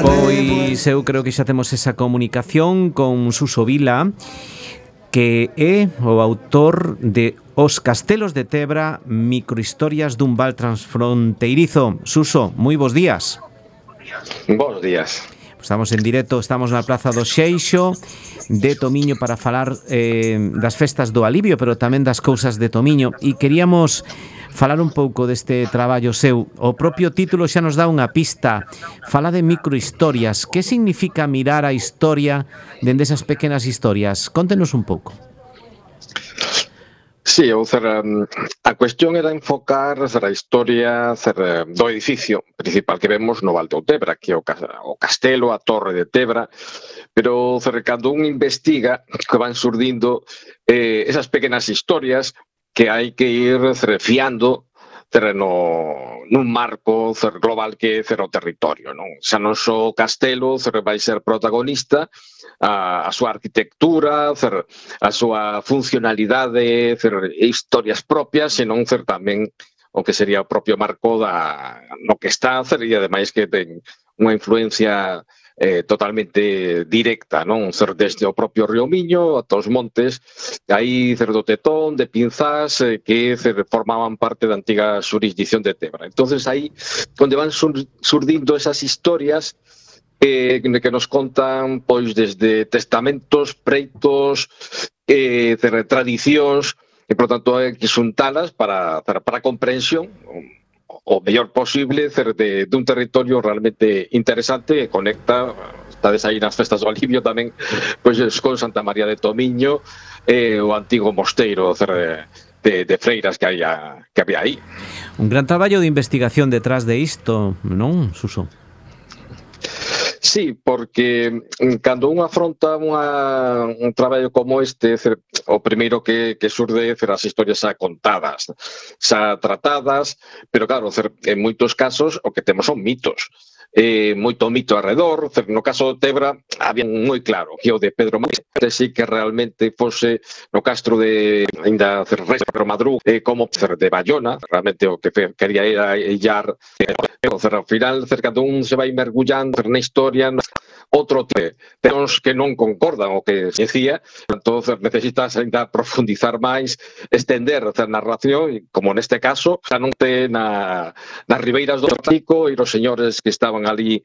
Pois eu creo que xa temos esa comunicación con Suso Vila, que é o autor de Os Castelos de Tebra, microhistorias dun val transfronteirizo. Suso, moi bons días. Bos días. Estamos en directo, estamos na Praza do Xeixo de Tomiño para falar das festas do alivio, pero tamén das cousas de Tomiño, e queríamos falar un pouco deste traballo seu. O propio título xa nos dá unha pista. Fala de microhistorias. Que significa mirar a historia dende esas pequenas historias? Contenos un pouco. Sí, a cuestión era enfocar a historia do edificio principal que vemos no Val de Tebra, que é o castelo, a torre de Tebra, pero cando un investiga que van surdindo esas pequenas historias que hai que ir fiando nun marco global que é o territorio, non? Xa non só o castelo vai ser protagonista, a súa arquitectura, a súa funcionalidade, historias propias, senón tamén o que sería o propio marco no que está, e ademais que ten unha influencia totalmente directa, non? Desde o propio río Miño ata os montes, aí do Tetón, de Pinzás, que formaban parte da antiga xurisdicción de Tebra. Entonces aí, onde van surdindo esas historias que nos contan pois desde testamentos, preitos, tradicións, e, por tanto, hai que xuntalas para a comprensión o mellor posible dun territorio realmente interesante e conecta, estades aí nas festas do alivio tamén, pois con Santa María de Tomiño, o antigo mosteiro de freiras que había aí. Un gran traballo de investigación detrás de isto, non, Suso? Sí, porque cando un afronta un traballo como este, o primeiro que surde as historias xa contadas, xa tratadas, pero claro, en moitos casos o que temos son mitos. Moito mito alrededor. No caso de Tebra había moi claro que o de Pedro Madruga sí que realmente fose no castro de ainda Pedro Madruga, como de Bayona, realmente o que quería era illar, ao final cando un se vai mergullando na historia, outro temas que non concordan o que se decía, entón necesitas ainda profundizar máis, estender a narración, como neste caso, xa non ten nas ribeiras do Atlántico e os señores que estaban ali,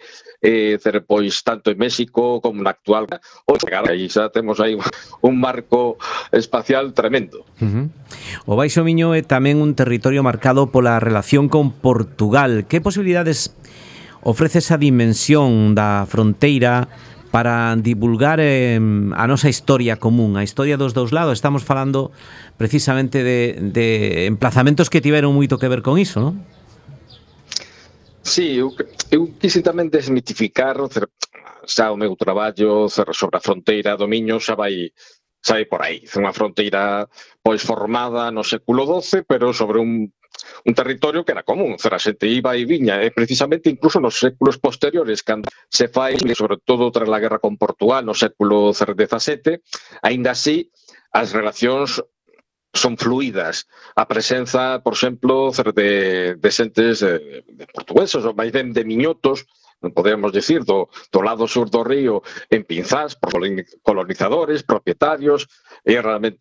pois tanto en México como na actual, aí xa temos aí un marco espacial tremendo. O Baixo Miño é tamén un territorio marcado pola relación con Portugal. Que posibilidades ofrece esa dimensión da fronteira para divulgar a nosa historia común, a historia dos dous lados? Estamos falando precisamente de emplazamentos que tiveron moito que ver con iso, non? Sí, eu quise tamén desmitificar xa o meu traballo sobre a fronteira do Miño xa vai por aí. É unha fronteira pois formada no século XII, pero sobre un territorio que era común. A xente iba e viña, e precisamente incluso nos séculos posteriores, cando se fai, sobre todo tras a guerra con Portugal no século XVII, aínda así as relacións son fluidas. A presenza, por exemplo, de xentes de portugueses, ou máis ben de miñotos, podemos decir, do lado sur do río, en Pinzás, por colonizadores, propietarios, é realmente